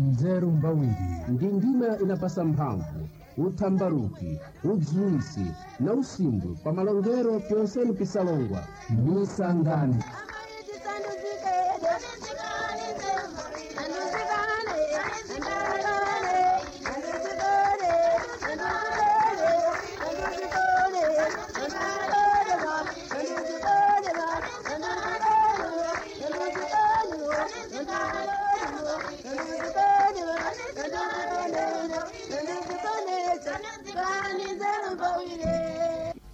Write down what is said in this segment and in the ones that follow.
Nzeru mbawiri. Ndi ndima inapasa mphamvu, uthambaruki, udziwisi na usimbwi pa malongero pyonseni pisalongwa. Misangani.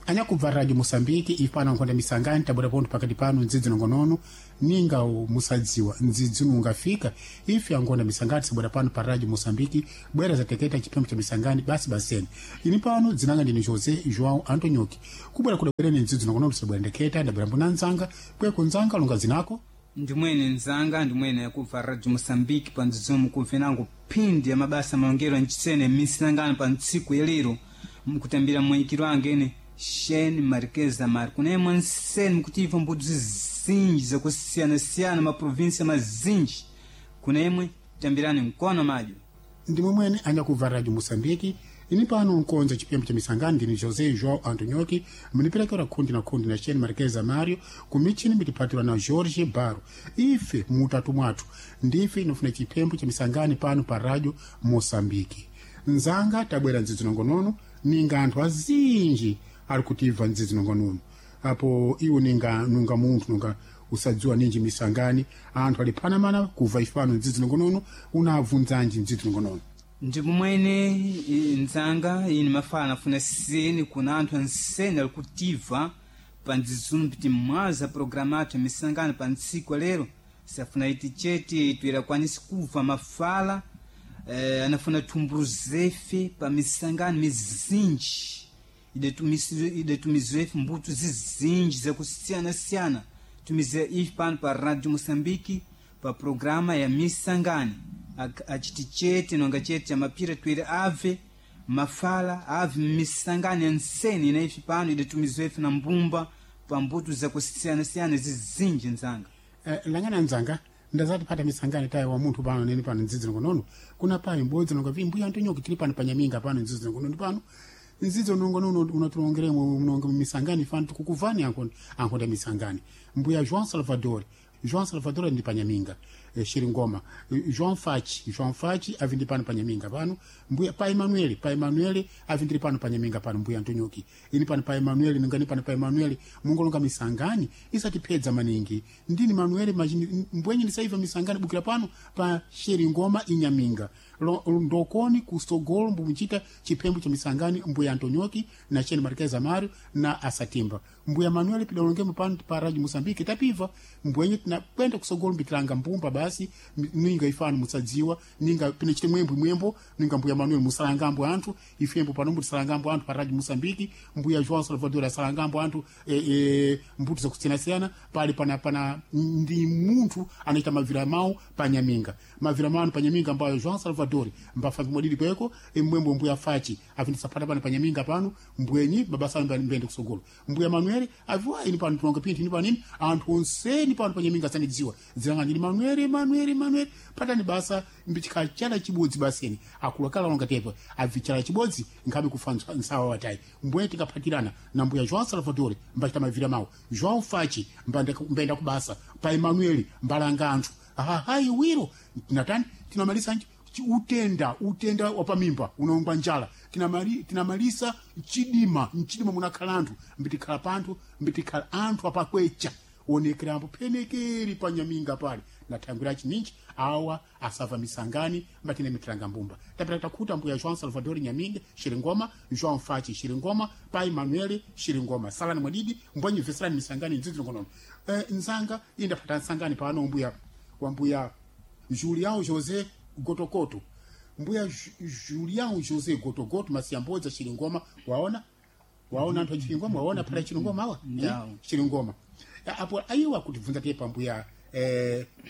Anyakubva radio Moçambique ipano nkhonda misangani tabwera pontho pakati pano ndzidzi nongonono ninga musadziwa ndzidzi ungafika ife ankhonda misangani tisabwera pano pa radio Moçambique bwera zateketa chipembo cha misangani basi baseni ini pano dzinanga ndine José João Antonioki kubwera kudabwereni ndzidzi nongonono tisabwera ndeketa ndabwera mbuna nzanga kweko nzanga lunga zinako. Ndimwene nzanga, ndimwene yakubva radio Moçambique pa ndzidzimu kumvenango phindi ya mabasa malongero nchisene misangano pa ntsiku yalero mukutambira mwayikiro ange ene Shane Marquez Amar kunemwe nsene mukutimva mbudzi zinji zakusiyana-siyana maprovinsia mazinji kunemwe tambirani mkono madyo. Ndimwe mwene anyakubva radio Moçambique ini pano nkonza chipembo cha misangani ndini José João Antonioki mniperekera khundi na khundi na Shane Marquez Mario kumichini mitipatira na Jorge Baro ife mutatu mwathu ndife inofuna chipembo cha misangani pano pa radio Moçambique. Nzanga tabwera ndzidzi nongonono ninga anthu azinji ari kutiva ndzidzi nongonono apo iwo ninga nunga munthu nunga usadziwa ninji misangani anthu ali phanamana kuva ifano ndzidzi nongonono unabvunzanji ndzidzi nongonono. Ndimwene nzanga ine mafala nafuna seni kuna anthu ansene ali kutiva pa ndzidzunu piti mwaza programa athu ya misangano pa ntsiku lero safuna iti chete tuirakwanisi kuva mafala anafuna thumbuluzefe pa misangano mizinji idetumiziwe ife mbuto zizinji zakusiyana-siyana tumiziwa ife pano pa radio Moçambique pa programa ya misangani achiti chete nonga chete cha mapira twere ave mafala ave misangani ya nsene ina ife pano idetumiziwe ife na mbumba pa mbuto zakusiyana-siyana zizinji nzanga. Langana nzanga ndazati pata misangani tayi wa munthu pano nene pano ndzidzi nongonono kuna payi mbodzi nonga vi mbuya Antonioki tili pano panyaminga pano ndzidzi nongonono pano nzidzo nongonono unatulongeremo mnonga misangani fano tikukuvani ankhonda misangani mbuya João Salvador. João Salvador ndi panyaminga Shiringoma João Fachi. João Fachi avi ndi pano panyaminga pano mbuya pa Emanuele. Pa Emanuele avi ndili pano panyaminga pano mbuya Antonioki ini pano pa Emanuele ningani pano pa Emanuele mungolonga misangani isatiphedza maningi ndini Manuele mbwenye ndisaiva misangani bukira pano pa Shiringoma inyaminga ndokoni kusogolo mbumuchita chipembo cha misangani mbuya Antonioki na Shane Marquez Amario na Asatimba mbuya Manuele pidalongemo pano pa radio Moçambique tapiva mbwenye tinakwenda kusogolo mbitilanga mbumba basi ninga ifano musadziwa ninga pinachite mwembo mwembo ninga mbuya Manuel musalangambo anthu ifembo pano mutisalangambo anthu pa radio Moçambique mbuya João Salvador asalangambo anthu mbuto zakusiyana-siyana pali pana pana ndi munthu anaita mavira mawu panyaminga mavira mawu panyaminga ambayo João Salvador mbafa mwadidi kweko mwembo mbuya Fachi avindisapata pano panyaminga pano mbwenyi mabasa mbende kusogolo mbuya Manuel aviwa ini pano tulonga pinthu ini pano ini anthu onseni pano panyaminga sandidziwa dzilanga ndini Manuel Manuel Manuel patani basa mbichikachala chibodzi baseni akulakala longa tepa avichala chibodzi nkhabe kufa nsawa watayi mbwenye tikaphatirana na mbuya João Salvador mbachita mavira mawu João Fachi mbenda kubasa pa Emanuel mbalanga anthu hahayi wiro tinatani tinamalisa nji utenda wapamimba unaongwa njala tinamalisa chidima mchidima munakhala anthu mbitikhala panthu mbitikhala anthu apakwecha onekerambo phenekeri panyaminga pale nathangwira chininji awa asava misangani mbatine mitiranga mbumba tapita takhuta mbuya João Salvador Nyaminga Shiringoma João Fachi Shiringoma pa Emanuele Shiringoma salani mwadidi mbwanyi veserani misangani ndzidzi nongonono nzanga indapata nsangani pano mbuya wa mbuya Julião José Gotogoto mbuya Julião José Gotogoto masiyambodza Shiringoma waona waona anthu achiringoma waona phata Chiringoma awa Chiringoma apo ayiwa kutibvunza tepa mbuya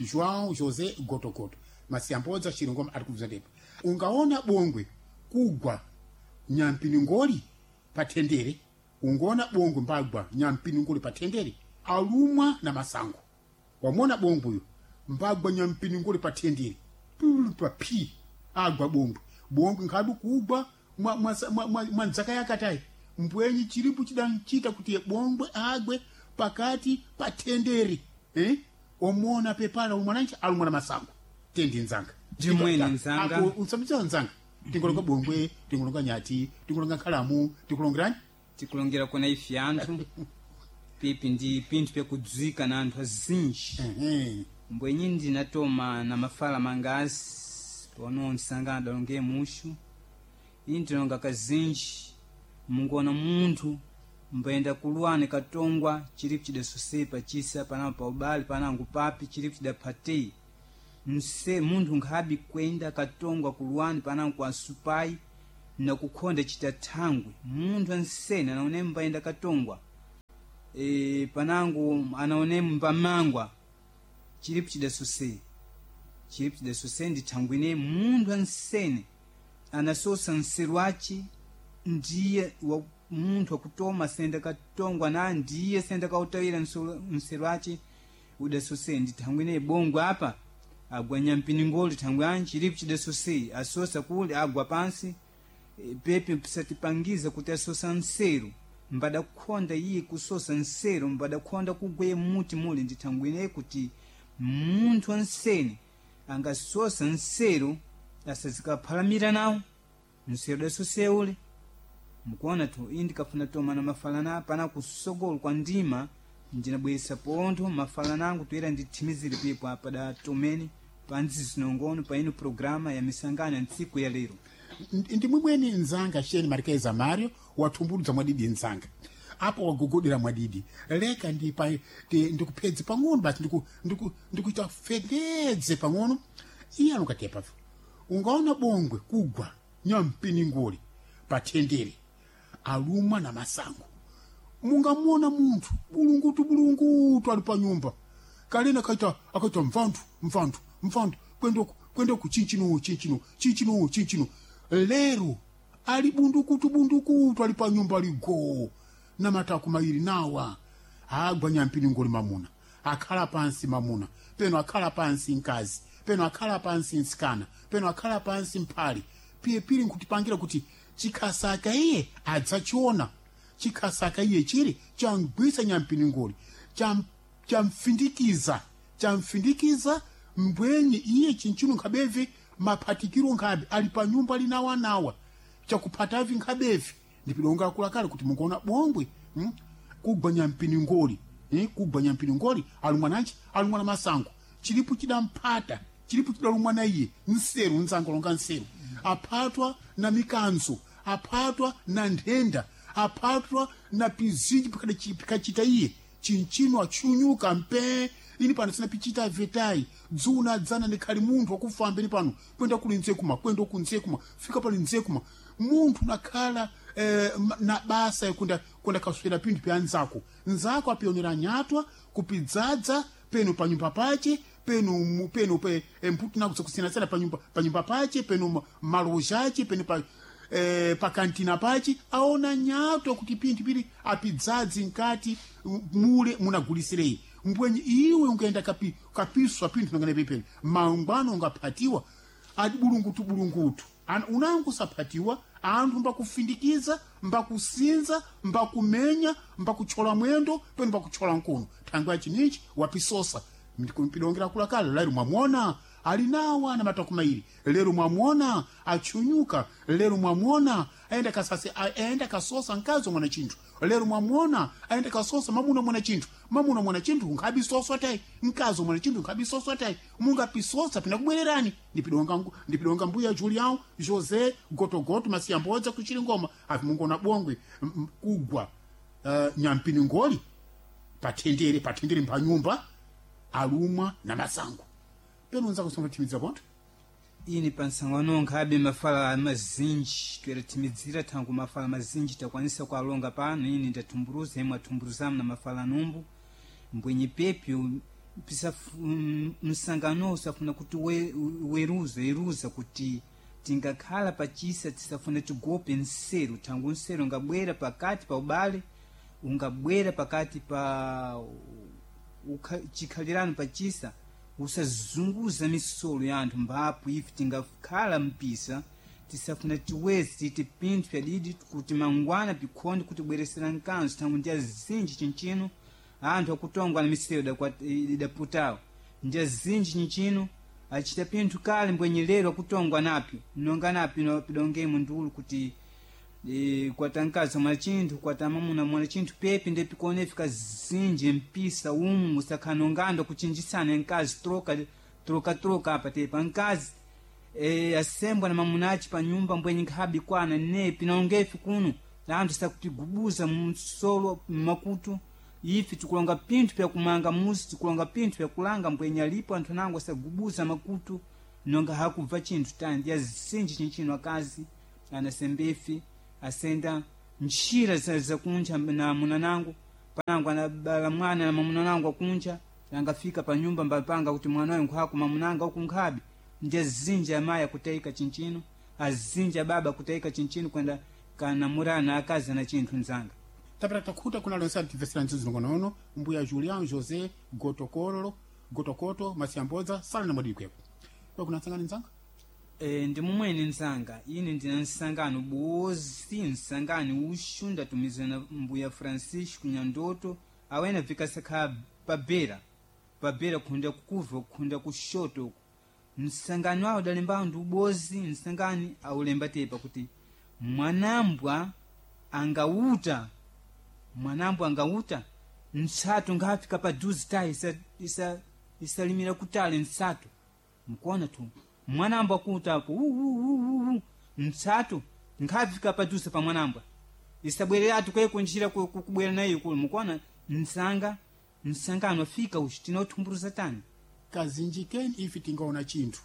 João José Gotogoto masiyambodza Chiringoma ari kubvunza tepa ungaona bongwe kugwa nyampiningoli patendere ungoona bongwe mbagwa nyampiningoli patendere alumwa na masango wamona bongwe uyo mbagwa nyampiningoli patendere. Pa pi agwa bongwe bongwe nkhadu kugwa mwa ndzaka yakatayi mbwenyi chilipo chidanchita kuti bongwe agwe pakati pa tendere, eh? Omona pepala umwananchi alumwana masango tendi nzanga. Ndimwene nzanga. Usambiza nzanga, tingolonga bongwe, tingolonga nyati, tingolonga nkhalamu, tikulongerani. Tikulongera kona ife anthu pipi ndi pinthu pyakudzwika na anthu azinji. Mbwenyi ndinatoma na mafala mangazi pano msanga adalongeye mushu iyi ndilonga kazinji. Munguona munthu mbayenda kulwana katongwa chilipo chidasosepa chisa panango pa ubale panango papi chilipo chidaphateyi mse munthu nkhabi kwenda katongwa kulwani panango kwa supayi nakukhonda chitathangwe. Munthu ansene anaone mbayenda katongwa panango anaone mbamangwa chilipo chidasose, chilipo chidasose ndi thangwine munthu ansene anasosa nseru ace ndiye wa munthu akutoma senda katongwa na ndiye senda kautawira nseru ace udasose ndi thangwine bongwe apa agwa nyampiningoli thangwe anji chilipo chidasose asosa kule agwa pansi. Pepe pisatipangiza kuti asosa nseru mbadakhonda iye kusosa nseru mbadakhonda kugweye muti muli ndi thangwine kuti munthu ansene angasosa nseru asazikaphalamira nawo nseru dasose ule. Mukuona tu iyi ndikafuna toma na mafalana pana kusogolo kwa ndima ndinabweresa pontho mafalana angu toera ndithimizire pepo apa da tomene panzizinongono pa ino programa ya misangano ya ntsiku ya lero. Ndimwimweni nzanga sheni marikeza mario wathumbuludza mwadidi nzanga apo wagogodera mwadidi leka ndikupedze pang'ono basi ndikuita fededze pang'ono. Iye anokatepavo ungaona bongwe kugwa nyampiningoli pathendere alumwa na masango. Mungamuona munthu bulungutu bulungutu ali pa nyumba kalena akaita akaita mvanthu mvanthu mvanthu kwendoku kwendoku chinchino chinchino chinchino chinchino lero ali bundukutu bundukutu ali pa nyumba ali goo na matako mairi nawa agwa nyampiningoli mamuna akhala pansi mamuna peno akhala pansi mkazi peno akhala pansi mtsikana peno akhala pansi mphali piyepiri nkutipangira kuti chikhasaka iye adzachiona chikhasaka iye chiri chamgwisa nyampiningoli chamfindikiza chamfindikiza mbwenyi iye chinchino nkhabevi maphatikiro nkhabe ali pa nyumba linawanawa chakuphatavi nkhabevi ndipilonga akulakale kuti mungaona bongwe kugwa nyampiningoli, kugwa nyampiningoli alumwananchi alumwana masango chilipo chidamphata chilipo chidalumwana iye nseru nzanga longa nseru aphatwa na mikanzo aphatwa na nthenda aphatwa na pizinji pikachita iye chinchino achunyuka mpe ini pano sina pichita vetai dzuna dzana ndikhali munthu wakufamba ini pano kwenda kuli nzekuma kwenda uku nzekuma fika pali nzekuma munthu nakhala na basa yakwenda kwenda kaswera pinthu pya nzako nzako apionera nyatwa kupidzadza peno panyumba pache peno peno pe mputi nako zakusiyanasiyana panyumba pache peno maloja ache peno pa pakantina pache aona nyatwa kuti pinthu pili apidzadzi nkati mule munagulisirei mbwenye iwe ungaenda kapiswa pinthu nangane pepene mangwano ungaphatiwa adi bulungutu bulungutu unangu saphatiwa anthu mbakufindikiza mbakusinza mbakumenya mbakuchola mwendo peno mbakuchola mkono thangwe yachinichi wapisosa ndikumpilongera kulakale lero mwamwona ali nawa na matako mairi lero mwamwona achunyuka lero mwamwona aenda kasase aenda kasosa mkazi mwana chinthu lero mwamwona aenda kasosa mamuna mwana chinthu mamuna mwana chinthu nkhabisoswa tayi mkazi mwana chinthu nkhabisoswa tayi mungapisosa pinakubwererani ndipidonga mbuya Julião José Gotogoto masiyambodza kuchilingoma avi mungona bongwe kugwa nyampiningoli pathendere pathendere mphanyumba alumwa na masango peno nzako sombathimidza pontho ini pansangano nkhabe mafala mazinji toyerathimidzira thangu mafala mazinji takwanisa kualonga pano ini ndathumburuza imwe athumburuzamu na mafala numbu mbwenye pepyo msangano usafuna kuti weruza eruza kuti tingakhala pachisa tisafuna tigope nseru thangu nseru ungabwera pakati pa ubale ungabwera pakati pa chikhalirano pachisa. Usazunguza misolo ya anthu mbapo ife tingakhala mpisa tisafuna tiwezi titi pinthu pyadidi kuti mangwana pikhonde kutibweresera nkanzo thangwi ndi azinji chinchino anthu akutongwa na misewu idaputawo ndi azinji chinchino achita pinthu kale mbwenyelero akutongwa napyo nonga napyo pidongemo ndulu kuti kwata mkazi mwana chinthu kwata mamuna mwana chinthu pepi nde pikone fika zinji mpisa umu usakhanongando kuchinjisana mkazi troka troka troka apa tepa mkazi asembwa na mamunachi pa nyumba mbwenye nkhabi kwana nepi naongefi kuno anthu sakutigubuza msolo mmakutu ife tikulonga pinthu pyakumanga muzi tikulonga pinthu pyakulanga mbwenye alipo anthu anango asagubuza makutu nonga hakubva chinthu tandi azinji chinchino akazi anasembefi asenda ntchira zakunja na munanango panango anabala mwana na mamunanango akunja angafika pa nyumba mbapanga kuti mwana wayo nkhwako mamunanga uku nkhabe ndi azinji amayi akutayika chinchino azinji ababa akutayika chinchino kwenda kanamurana akazi ana chinthu mzanga Tapera takhuta kuna lonse ativesera ntsizi nongonono mbuya Julian José Gotokorolo Gotokoto Masiambodza sala na mwadikwepo kwa kuna tsangani nzanga. Ndi mumwene nzanga ine ndina nsangano bozi nsangano uxu ndatumizana mbuya Francisco Nyandoto awena vikasakha pabera pabera khunda kukuva khunda kushoto uku nsangano awo dalembawo ndi ubozi nsangani aulemba tepa kuti mwanambwa angauta mwanambwa angauta ntsatu ngafika paduzi tayi isalimira kutale ntsatu mkuona tu mwanambwa kuutapo ntsatu nkhafika paduze pa mwanambwa isabwereratu kwekunjira kubwera nayo kulu mukuona nsanga nsangano afika uxi tinothumbuluza tani Kazinji keni ife tingaona chinthu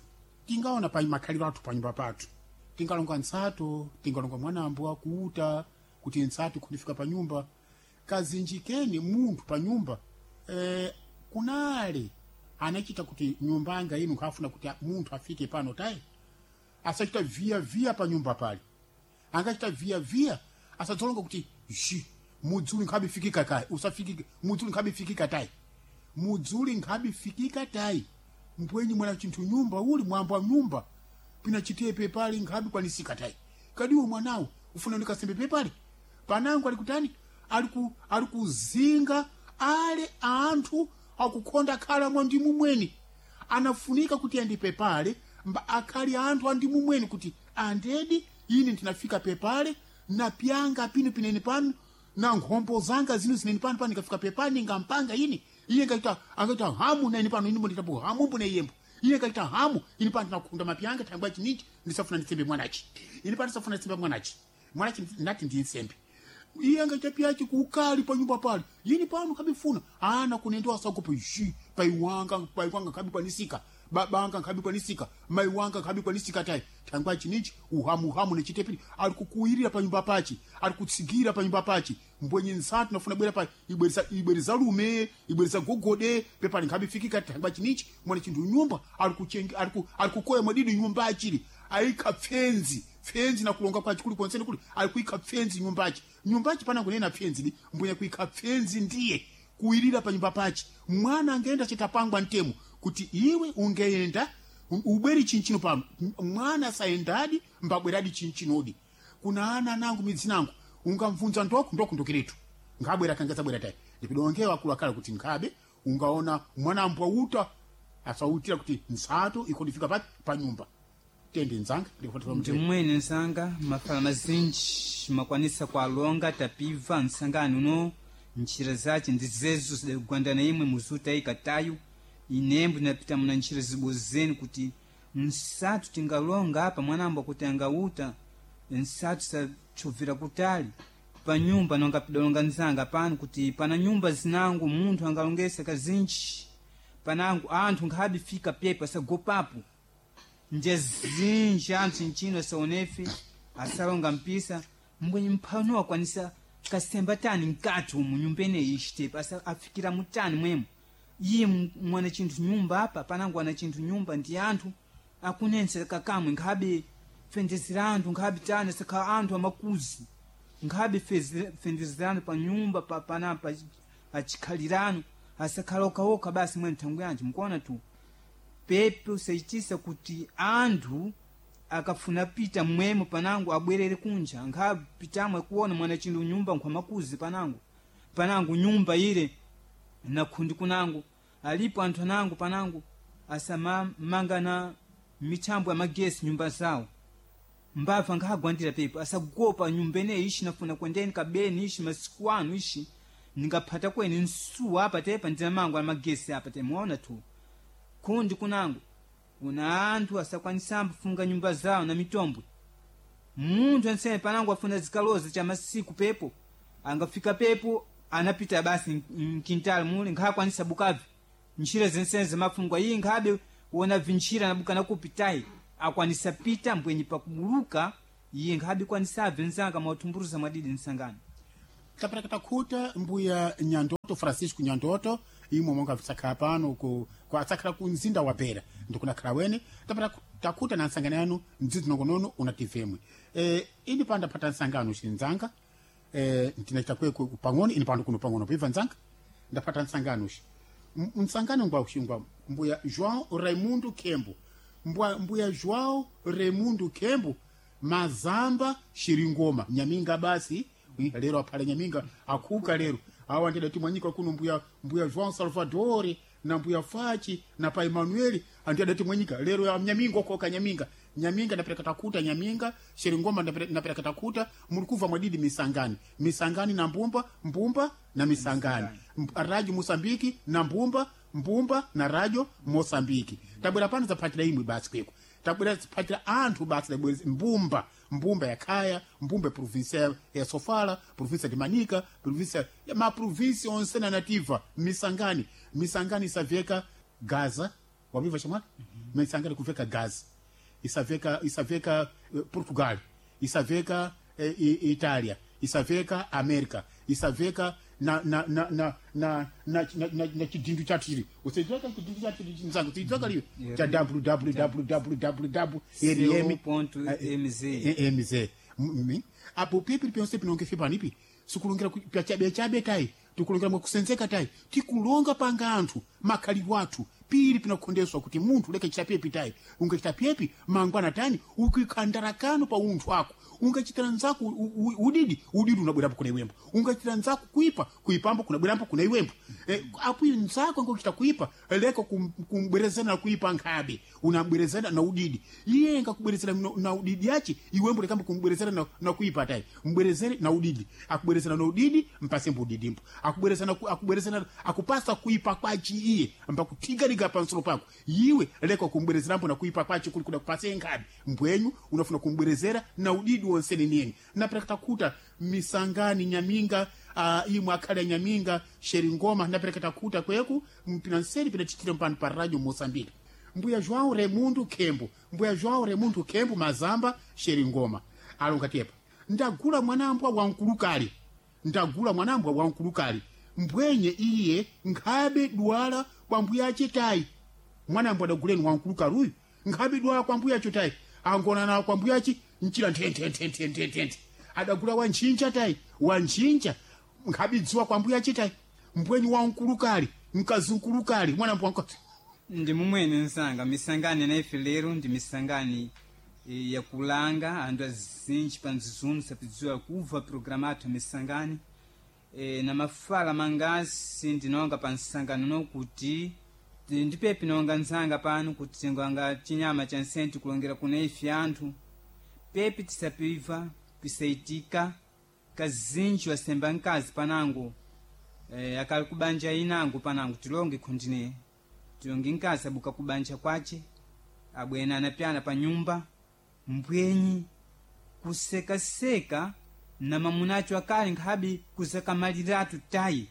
tingaona pa makhaliro athu panyumba pathu tingalonga ntsatu tingalonga mwanambwa kuuta kuti ntsatu kundifika pa nyumba kazinji keni munthu pa nyumba kunale anachita kuti nyumba anga inu nkhafuna kuti munthu afike pano tayi asachita via via pa nyumba pale angachita via via asadzolonga kuti ji mudzuli nkhabifikika kai usafikike mudzuli nkhabifikika tayi mudzuli nkhabifikika tayi mbwenyi mwana chinthu nyumba uli mwambo wa nyumba pina chitepe pali nkhabi kwanisika tayi kadiwo mwanawo ufuna ndikasembe pepali panango ali kutani ali kuzinga ale anthu akukhonda khala mwa ndimu mweni anafunika kuti andipe pale mba akhali anthu andimu mweni kuti andedi ine ndinafika pepale napyanga pino pinene pano na nkhombo zanga zino zineni pano pano nikafika pepale ningampanga ini iye ngaita angaita hamu na ine pano ine nditapo hamu mbune yembo iye ngaita hamu ine pano ndinakhunda mapyanga thangwa chinichi ndisafuna nditsembe mwanachi ine pano ndisafuna nditsembe mwanachi mwanachi ndati ndinsembe iye angaita pyachi kukali pa nyumba pale yini pano kabifuna ana kunendowa sakupo ji paiwanga paiwanga kabikwanisika babanga nkhabikwanisika mai wanga nkhabikwanisika tayi thangwa chinichi uhamuhamu nechitepili ali kukuwirira pa nyumba pachi ali kutsigira pa nyumba pachi mbwenye nsatu nafuna bwera pa ibwereza ibwereza lume ibwereza gogode pepali nkhabifikika thangwa chinichi mwana chinthu nyumba ali kuchengi ali ku ali kukoya mwadidi nyumba achili ayikha pfenzi pfenzi na kulonga kwachi kuli konsene kuli ali kuikha pfenzi nyumbachi nyumbachi pana kunena pfenzi di mbwenye kuikha pfenzi ndiye kuwirira pa nyumba pachi mwana angaenda chitapangwa ntemo kuti iwe ungeenda ubweri chinchino pano mwana saendadi mbabweradi chinchinodi kuna ana nangu midzi nangu ungamvunza ndoku ndoku ndokiretu nkabwera kanga sabwera tayi ndipidongewa akulu akale kuti nkhabe ungaona mwana ambwauta asautira kuti nsato ikondifika pa nyumba tende nzanga ndikufatira Ndi mmwene nsanga mafala mazinji makwanisa kualonga tapiva nsangano uno ntchira zace ndi zezo zidagwandana imwe muzutayika tayo inembo ndinapita muna ntchira zibozeni kuti nsatu tingalonga apa mwanambo kuti angauta nsatu sachovera kutali pa nyumba nonga pidalonga nzanga pano kuti pana nyumba zinango munthu angalongesa kazinji panango anthu nkhabifika pepa sagopapo nje zinji anthu nchino asaonefe asalonga mpisa mbwenye mphano akwanisa kasemba tani mkati umu nyumba ineyi ixitepa asa afikira mutani mwemo iye mwana chinthu nyumba apa panango ana chinthu nyumba ndi anthu akunensa kakamwe nkhabe fendezera anthu nkhabe tani asakhala anthu amakuzi nkhabe fendezerano pa nyumba panapa achikhalirano asakhala okhaokha basi mwene nthangu yanji mukuona tu. Pepe usaichisa kuti anthu akafuna pita mmwemo panango abwerere kunja nkhapitamwe kuona mwana chindu nyumba nkhwamakuzi panango panango nyumba ile na khundi kunango alipo anthu anango panango asamamanga na mithambo ya magesi nyumba zawo mbava nkhagwandira pepo asagopa nyumba ineyi ishi nafuna kwendeni kabeni ishi masiku anu ishi ningaphata kweni nsuwa apa tepa ndinamango ala magesi apa temuona tu kundi kunango kuna anthu asakwanisamba kufunga nyumba zawo na mitombwe munthu ansene panango afuna zikaloza cha masiku pepo angafika pepo anapita basi mkintali mule nkhakwanisa bukavi ntchira zensene zimafungwa iyi nkhabe wona vintchira nabuka nakupitayi akwanisa pita mbwenyi pakubuluka iye nkhabe kwanisabve nzanga mwatumburuza mwadidi nsangano tapereka takhuta mbuya Nyandoto Francisco Nyandoto imwe monga tsakhala pano ku atsakhala ku mzinda wa Beira ndikunakhala wene tapera takhuta na nsangano yanu mdzidzi nongonono unativemwe ini pano ndaphata nsangano xinzanga ndinachita kweku pang'ono ini pano kuno pang'ono piva nzanga ndaphata nsangano xi msangano ngwa xingwa mbuya João Raimundo Kembo mbuya João Raimundo Kembo mazamba shiringoma nyaminga basi lero aphale nyaminga akhuka lero awa ndidati mwanyika kuno mbuya João Salvador na mbuya Fachi na pa Emmanuel andi adati mwanyika lero ya nyaminga okoka nyaminga nyaminga ndapereka takuta nyaminga shiringoma ndapereka takuta mulikuva mwadidi misangani misangani na mbumba mbumba na misangani radio Mosambiki na mbumba mbumba na radio Mosambiki tabwera pano zaphatira imwe basi kweko tabwera zaphatira anthu basi tabwera mbumba mbumba ya khaya mbumba ya provinsia ya Sofala provinsia de Manica provinsia ya maprovinsia onse na nativa misangani misangani isaveka Gaza waviva chamwana misangani kuveka Gaza isaveka Portugal isaveka Italia isaveka America isaveka na na na na na na na na na chidindu chathu chili usaidzaka chidindu chathu chili nzangu usayidzaka liyo cha www co.mz mz apo pipi pyonse pinonge fipanipi sikulongera pyachabe tayi tikulongera mwakusenzeka tayi tikulonga panga anthu makhalidwe athu pili pinakhondeswa kuti munthu leke chita pyepi tayi ungachita pyepi mangwana tani ukikhandarakano pa unthu ako ungachitira nzako udidi udidi unabwerapo kuna iwembo ungachitira nzako kuipa kuipambo kunabwerampo kuna iwembo apo nzako angochita kuipa leka kumbwerezana na kuipa nkhabe unabwerezana na udidi iye ngakubwerezera na udidi yachi iwembo lekamba kumbwerezera na kuipa tayi mbwerezere na udidi akubwerezera na udidi mpasembo udidimbo akubwerezana akubwerezana akupasa kuipa kwachi iye mpakuthigalika pansolo pako iwe leka kumbwerezerambo na kuipa kwachi kuli kuda kupase nkhabe mbwenyu unafuna kumbwerezera na udidi wonse neniyeni napereka takuta misangani nyaminga imwe akhale ya nyaminga sheringoma napereka takuta kweku mpinanseri pinachitira mpano pa radio Mosambiki mbuya João Raimundo Kembo mbuya João Raimundo Kembo mazamba sheringoma alonga tepa ndagula mwanambwa wankulukali ndagula mwanambwa wankulukali mbwenye iye nkhabe dwala kwa mbuya chitayi mwanambwa adaguleni wankulukali uyu nkhabe dwala kwa mbuya chitayi angonana kwa mbuyachi mchira nthenthenthenthenthe adagula wanchinja tayi wanchinja nkhabidziwa kwa mbuya chitayi mbwenye wankulukali mkazinkulukali mwanambwa wankulukali ndi mumwene nsanga misangani naife lero ndi misangani yakulanga anthu azinji pa mzizunzu sapidziwa kubva programa athu misangani na mafala mangasi ndinonga pa nsangano nokuti ndipepi nonga nzanga pano kuti tinganga chinyama cha nsenti kulongera kuna ife anthu pepi tisapiva pisaitika kazinji wasemba mkazi panango akali kubanja inango panango tilonge khundine tilonge mkazi abuka kubanja kwace abwena anapyana pa nyumba mbwenyi kusekaseka na mamunacho akali nkhabe kuzakamaliratu tayi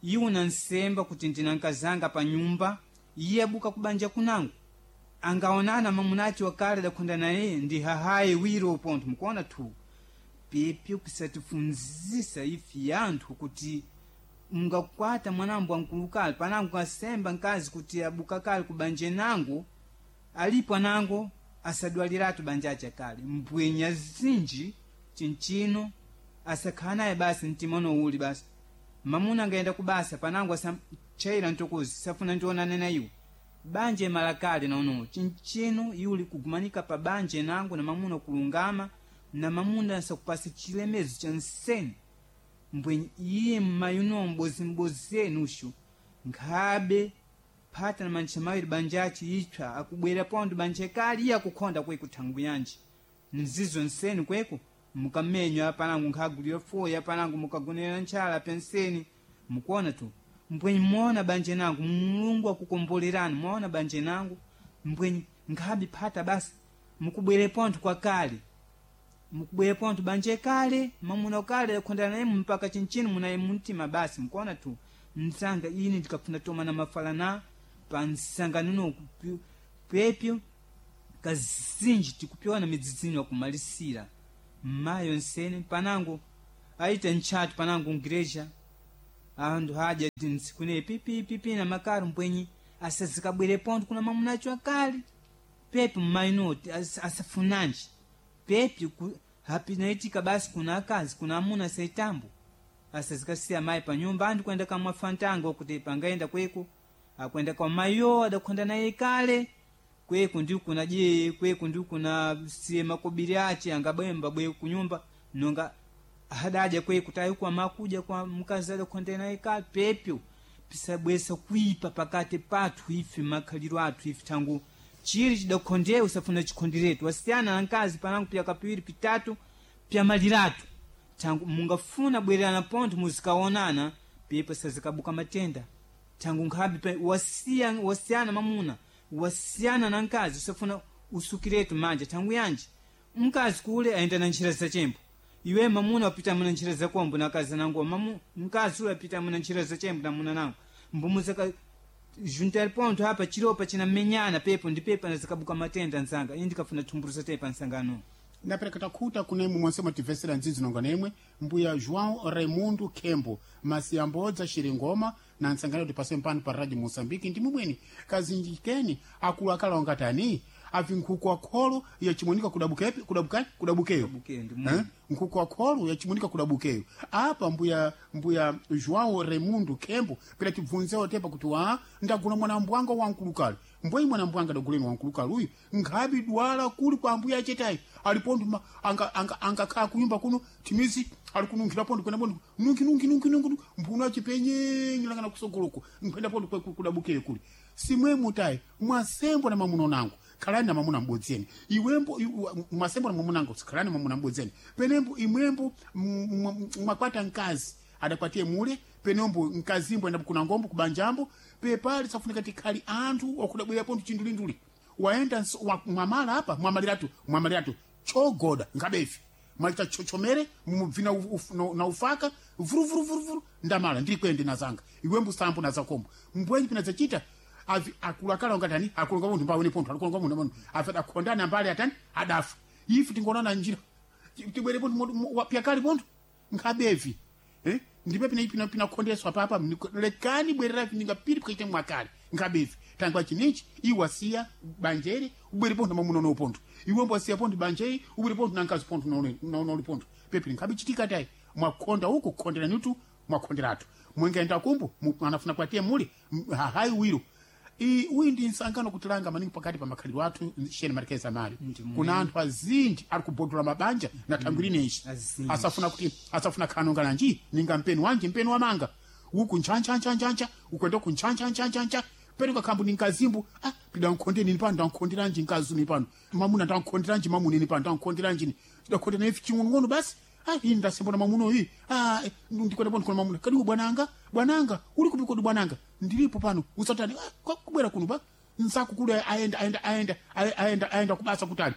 iwo nansemba kuti ndina nkazanga pa nyumba iye abuka kubanja kunango angaonana mamunacho akale adakhonda naye ndi hahaye wiro pontho mukuona thu pepyo pisatifunzisa ife anthu kuti mungakwata mwanambo wankulukali panango kasemba nkazi kuti abuka kale kubanje nango alipo anango asadwaliratu banjacha kale mbwenya zinji chinchino asakhala naye basi mtima uli basi mamuna angaenda kubasa panango asamchaira ntokozi safuna ndionane na iwo Banje malakale nono chinchino yuli kugumanika pa banje nangu na mamuna kulungama na mamuna sakupasa chilemezo cha nsene mbwenye iye mmayuno mbozi enushu nkhabe phata na mantcha mawiri banjachi ipsa akubwera pondo banje kali iye akukhonda kweku thangu yanji nzizo nseni kweku mukamenywa panangu nkhagulira foya panangu mukagonera ntchala penseni mukuona tu mbwenye muona banje nangu Mulungu akukombolerani muona banje nangu mbwenye nkhabe phata basi mukubwere pontho kwa kale mukubwere pontho banje kale mamuna kale akhondana naye mpaka chinchino munaye mumtima basi mukuona tu msanga ine ndikafuna toma na mafala na pa msangano pepyo kazinji tikupiwana midzidzini wakumalisira mayo nsene panango aita ntchatu panango ngreja anthu hadya ntsiku pipipipi na makaro mbwenyi asazikabwere pontho kuna mamunacho akale pepe mmainoti asafunanji pepe hapinaitika basi kuna akazi kuna amuna saitambo asazikasiya mayi pa nyumba anthu kuenda kamwa fantanga kuti pangaenda kweko akwenda kwa mayo adakhonda naye kale kweku ndi kuna je kweku ndi kuna siye makobiri ache angabwemba bwe kunyumba nonga hadaja kweku tayi kwa makuja kwa mkazi adakhonda naye kale pepyo pisabwesa kuipa pakati pathu ife makhaliro athu ife tangu chiri chidakhondewe usafuna chikhonderetu wasiyana na nkazi panangu pya kapiwiri pitatu pya maliratu tangu mungafuna bwererana pontho muzikaonana pepo sazikabuka matenda tangu nkhabe pe wasiyana mamuna wasiyana na nkazi usafuna usukiretu manja tangu yanji mkazi kule aenda na ntchira zachembo iwe mamuna wapita muna ntchira zakombo na kazi nangu mamu mkazi ule apita muna ntchira zachembo na muna nangu mbumuzaka juntali pontho apa chiropa chinamenyana pepo ndi pepo anazikabuka matenda nzanga ine ndikafuna thumburusa tepa nsangano ndapereka takhuta kunemwe monse mwatimvesera ndzidzi nonga nemwe mbuya João Raimundo Kembo masiyambodza Xiringoma na ntsangano kuti pase mpano pa radio Moçambique ndi mumweni kazinji keni akulu akalonga tani avi nkhuku akholo yachimunika kudabukepi kudabuka kudabukeyo Kudabukeyo, ndi mumwe. Eh? nkhuku akholo yachimunika kudabukeyo apa mbuya João Raimundo Kembo pera tibvunzewo tepa kuti wa ndagula mwana mbwanga wankulukali mbweyi mwana mbwanga daguleni wankulukali uyu nkhabi dwala kuli kwa ambuya achetayi alipontho angakhala kunyumba kuno timizi ali kununkhira pontho kwenda pontho nunki nunki nunki nunki mphuno achipenyenyelangana kusogoloko nkhwenda pontho kudabukeyo kuli simwemo tayi mwasembo na mamuno nangu khalani na mamuna m'bodzeni iwembo mwasembo na mamuna nangu khalani na mamuna m'bodzeni penembo imwembo mwakwata mkazi adakwatiye mule penembo mkazimbo enda kuna ngombo kubanjambo pepali safunika tikhali anthu wakudabwera pontho chindulinduli waenda mwamala apa mwamaliratu mwamaliratu chogoda ngabefi mwalita chochomere mubvina na ufaka vuruvuruvuruvuru ndamala ndiri kwende nazanga iwembo sambo nazakombo mbwenyi pina zachita avi akulakala ngatani akulonga munthu mbawene pontho akulonga munthu munthu afi adakhondana ambali atani adafa ife tingonana njira tibwere pontho pyakali pontho nkhabevi eh ndipe pina pina pina khondeswa papa lekani bwerera ninga piri pkaite mwakale nkhabevi tangwa chininchi iwasiya banjeri ubwere pontho mamuno no pontho iwembo wasiya pontho banjeri ubwere pontho nankazi pontho noli pontho pepi nkhabe chitika tayi mwakhonda uku khondera nitu mwakhonderatu mwengaenda kumbu anafuna kwatiye muli hahayi wiro uyu ndi nsangano kutilanga maningi pakati pa makhalidwe athu sheni marikeza mali kuna anthu azinji ari kubodola mabanja na thangwi linenji Azinji. asafuna kuti asafuna khanonga nanji ninga mpeni wanje mpeni wamanga uku nchanchanchancha ukwenda ku nchanchanchancha peni kakhambu ni nkazimbu ah pida nkhonde nini pano ndankhonderanji nkazi ni pano mamuna ndankhonderanji mamuna ni pano ndankhonderanji ni ndakhonde naye ching'onong'ono basi ah ini ndasembona mamuno iyi ah ndikwenda pano kuna mamuna kadi bwananga bwananga uli kupi kodi bwananga ndilipo pano usatani ah kubwera kuno pa nsaku kule aenda aenda aenda aenda aenda kubasa kutali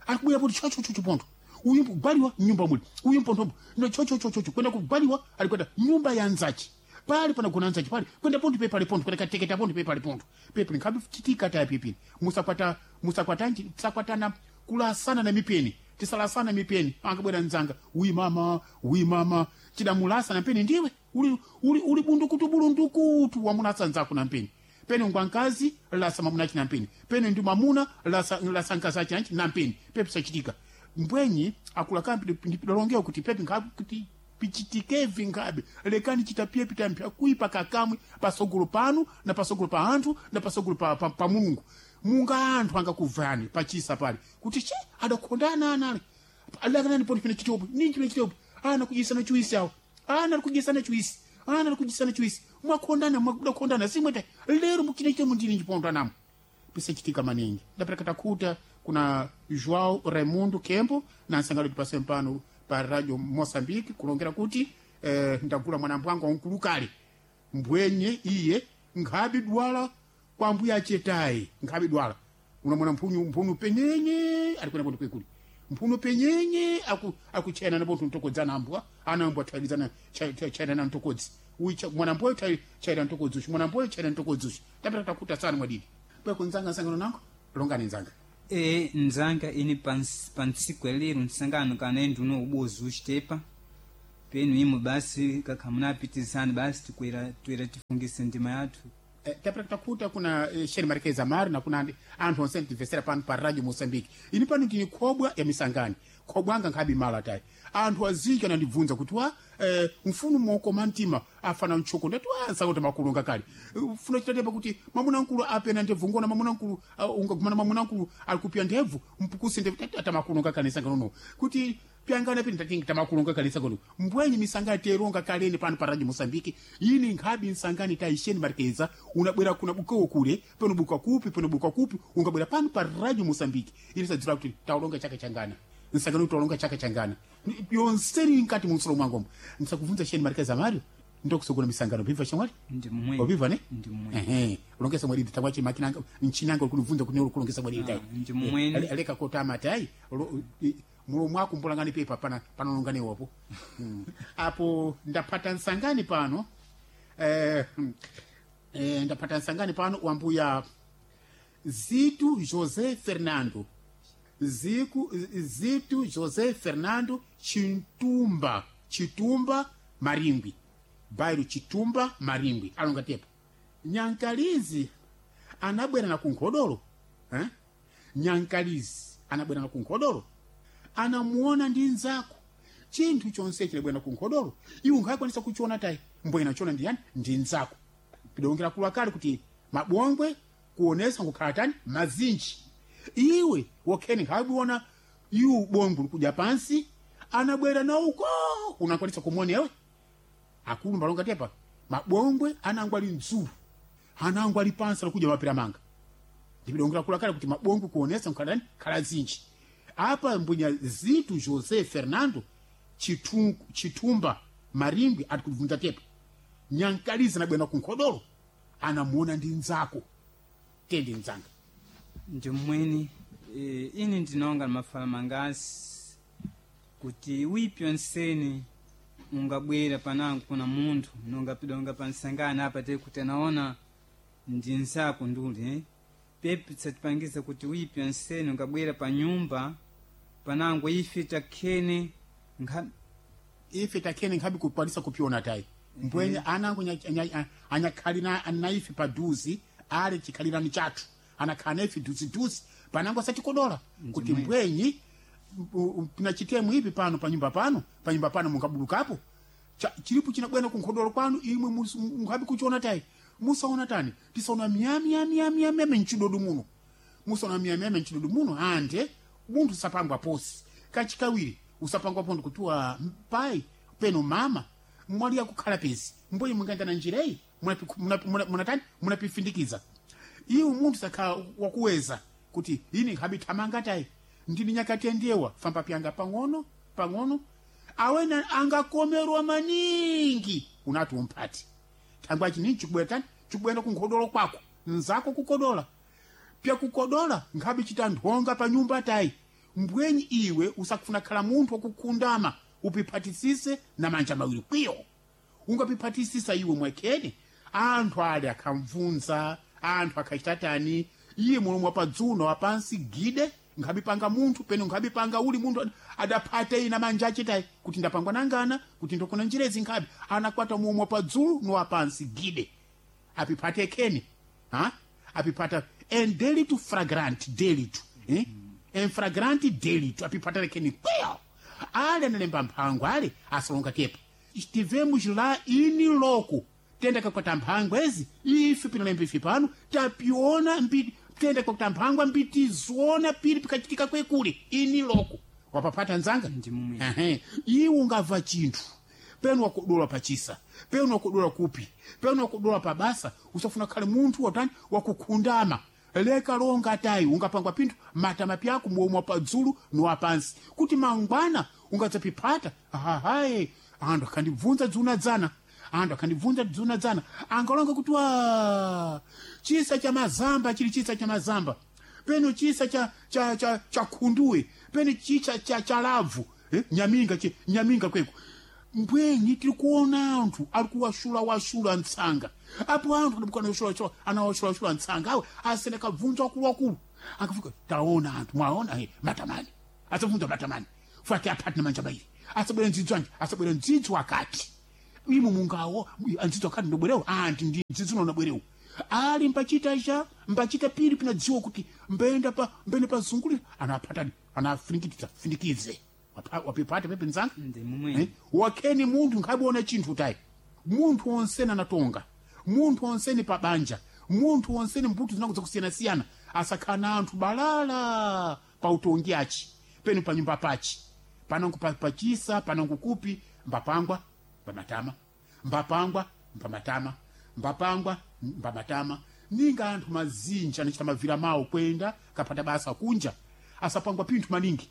akubwera poti chochochocho pontho uyu kugwaliwa nyumba muli uyu mpontho no chochochocho kwenda kugwaliwa alikwenda nyumba ya nzachi pali panagona nzachi pali kwenda pontho pe pali pontho kwenda kateketa pontho pe pali pontho pepe nkhabe chitika taya pipini musakwata musakwatanji tisakwatana kulasana na mipeni tisalasana mipeni angabwera nzanga uyi mama uyi mama chidamulasa na mpeni ndiwe uli uli uli bundukutu bulundukutu wamunasa nzako na mpeni pene ngwa nkazi lasa mamuna achi na mpeni pene ndi mamuna lasa lasa nkazi achi na mpeni pepe sachitika mbwenyi akula kampi ndipidolongeo kuti pepe nkhabe kuti Pichitikevi ngabe lekani chitapiye pitampya kuipa kakamwe pasogolo panu na pasogolo pa anthu na pasogolo pa Mulungu. Munga anthu angakuvani pachisa pali kuti che adakhondana anali alakanani poti pine chitopo ninji pine chitopo ana kudyisana chiwisi awo, ana alikudyisana chiwisi, ana alikudyisana chiwisi, mwakhondana, mwakudakhondana simwete lero mukine chitopo ndini njipondanamo pisachitika maningi. Ndapereka takhuta kuna João Raimundo Kembo na nsangalo tipase mpano pa Radio Moçambique kulongera kuti ndagula mwana mbwangu wankulukale mbwenye iye nkhabi dwala kwa mbuya achetayi nkhabi dwala unamwona mphunu penyenye alikwena ponto kwekuli mphunu penyenye akuchena napo ntokodzana ambwa ana ambwa thailizana chaina na ntokodzi uyu mwana mboyo chaina ntokodzi uyu mwana mboyo chaina ntokodzi uyu. Tapita takuta sana mwadidi bweko nzanga nsangano nango longani nzanga. E nzanga ini pantsiku lero nsangano kana enduno ubozi uchitepa penu imwe basi kakhamunapitizani basi tikwera twera tifungise ndima yathu. Tapita takuta kuna Sheri Marquez Amaro na kuna anthu onse ndimvesera pano pa Radio Mozambique. Ini pano ndini khobwa ya misangani khobwa anga nkhabi mala tayi anthu aziki anandibvunza kuti wa mfuno mokoma mtima afana mtchoko ndati wa nsakuti makulunga kale mfuno chitatepa kuti mwamuna mkulu apena ndebvu ngona mwamuna mkulu ungagumana mwamuna mkulu alikupia ndebvu mpukuse ndebvu tati atamakulunga kale sangano no kuti pyangana pini tati tamakulunga kale sangano mbwenyi misangani teronga kaleni pano pa Radio Mozambique. Ini nkhabi nsangani taisheni Marqueza unabwera kuna bukowo kule pano buka kupi pano buka kupi ungabwera pano pa Radio Mozambique ili sadzira kuti taulonga chaka changana nsangano taulonga chaka changana yonseni nkati munsolo mwangomo nsakuvunza Sheni Marquez Mario ndokusogona misangano bhiva shamwali Ndi mmwe. Wabiva ne? Ndi mmwe. Ehe, ulongesa mwalidi tangwachi makinanga nchinanga ukunivunza kuti kulongesa mwalidi tai. Ndi mmwene. Aleka kota matai mulomo mwako mbulangani pepa pana panalongani wapo. Apo ndapata nsangani pano. Ndapata nsangani pano wambuya Zito José Fernando. Zito José Fernando Chitumba, Chitumba Marimbi. Bairo Chitumba Marimbi alonga tepo. Nyankalizi anabwera na kunkhodolo eh? Nyankalizi anabwera na kunkhodolo anamuona ndi nzako chinthu chonse chilabwera na kunkhodolo iwe unkhakwanisa kuchiona tayi mbwena chiona ndi yani ndi nzako pidongera kula kale kuti mabongwe kuonesa ngukhala tani mazinji iwe wokheni nkhabiona iwe ubongwe likuja pansi anabwera na uko unakwanisa kumuona ewe akulu mbalonga tepa mabongwe anango ali mdzulu anango ali pansi alikuja mapira manga ndipidongera kula kale kuti mabongwe kuonesa nkhala khala zinji apa mbunya Zito José Fernando Chitumba Marimbi atikubvunza tepa Nyankalizi anabwera kunkhodolo anamuona ndi nzako tende nzanga Ndi mmweni. Ini ndinonga mafala mangasi kuti wipi onseni ungabwera panango kuna munthu nonga pidonga pansangana apa te kuti anaona ndi nzako nduli Pepi tsatipangiza kuti wipi onseni ungabwera pa nyumba panango ife takhene ife takhene nkhabi kukwanisa kupiona tayi mbwenye anango anyakhalira naife paduzi ali chikhalirani chathu anakhala naife duziduzi panango asatikodola kuti mbwenyi pinachitemu ipi pano panyumba pano panyumba pano mungabulukapo chilipo chinabwera kunkhodolo kwanu imwe mukhabi kuchiona tayi musaona tani tisaona miyamiyamiyamiyami mchidodo muno musaona miyamiyami mchidodo muno ande munthu usapangwa posi kachikawiri usapangwa pondi kuti wa pai peno mama mwali yakukhala pezi mboyi mungaenda na njira iyi munatani munapifindikiza iwe munthu sakhala wakuweza kuti ini nkhabi thamanga tayi ndini nyakatendewa famba pyanga pang'ono pang'ono awena angakomerwa maningi unati umphati thangwa chini chikubwera tani chikubwera kunkhodolo kwako nzako kukodola pyakukodola nkhabi chita nthonga pa nyumba tayi mbwenyi iwe usakufuna khala munthu wakukhundama upiphatisise na manja mawiri kwiyo ungapiphatisisa iwe mwekhene anthu ali akhamvunza anthu akhachita tani iye mulomo wapadzuno wapansi gide nkhabipanga munthu peno nkhabipanga uli munthu adaphata ina manja achitayi kuti ndapangwa nangana kuti ndokona njirezi nkhabi anakwata mulomo wapadzulu nowapansi gide apiphate khene ha apiphata en delito fragrant delito eh? En fragrant delito apiphata khene kwiyo ale analemba mphango ale asalonga tepa Estivemos lá in loco. Tenda kakwata mphangwa ezi ife pinalemba ife pano tapiona mbiti tenda kakwata mphangwa mbitizoona pili pikachitika kwekule ini loko wapapata nzanga. Ndi mumwe. Ehe. Iwe ungamva chinthu penu wakudola pachisa, penu wakudola kupi, penu wakudola pabasa, usafuna khale munthu watani wakukhundama. Leka longa tayi ungapangwa pinthu matama pyako muomwa padzulu niwapansi kuti mangwana ungadzapipata. Ahahaye, anthu akhandibvunza dzuna dzana, anthu akhandibvunza dzuna dzana, angalonga kuti wa chisa cha mazamba chili chisa cha mazamba, peno chisa cha khunduwe, peno chicha cha labvu, eh? Nyaminga nyaminga kweko mbwenyi tiri kuona anthu ari kuwashula-washula ntsanga apo anthu adabukana anawashulashula ntsanga awe asene kabvunza wakuluwakulu akafika taona anthu mwaona, matamani asabvunza matamani fati aphati na manja mairi asabwera ndzidzi anje asabwera ndzidzi wakati imo mungawo andzidzi wakati ndobwerewo anti ndi ndzidzi unonabwerewo ali mbachita cha mbachita pili pinadziwa kuti mbenda pa mbene pazungulira anaphatani anafinikitsa finikize. Wapipata pepe nzanga. Ndi mumwe. Eh? Wakheni munthu nkhabiona chinthu tayi munthu wonsene anatonga, munthu wonsene pabanja, munthu wonsene mbuto zinakuza kusiyanasiyana asakhala anthu balala pa utongi achi penu pa nyumba pachi panangu pachisa panangu kupi mbapangwa mbamatama mbapangwa mbamatama mbapangwa mbamatama ninga anthu mazinji anachita mavira mawo kwenda kapata basa kunja asapangwa pinthu maningi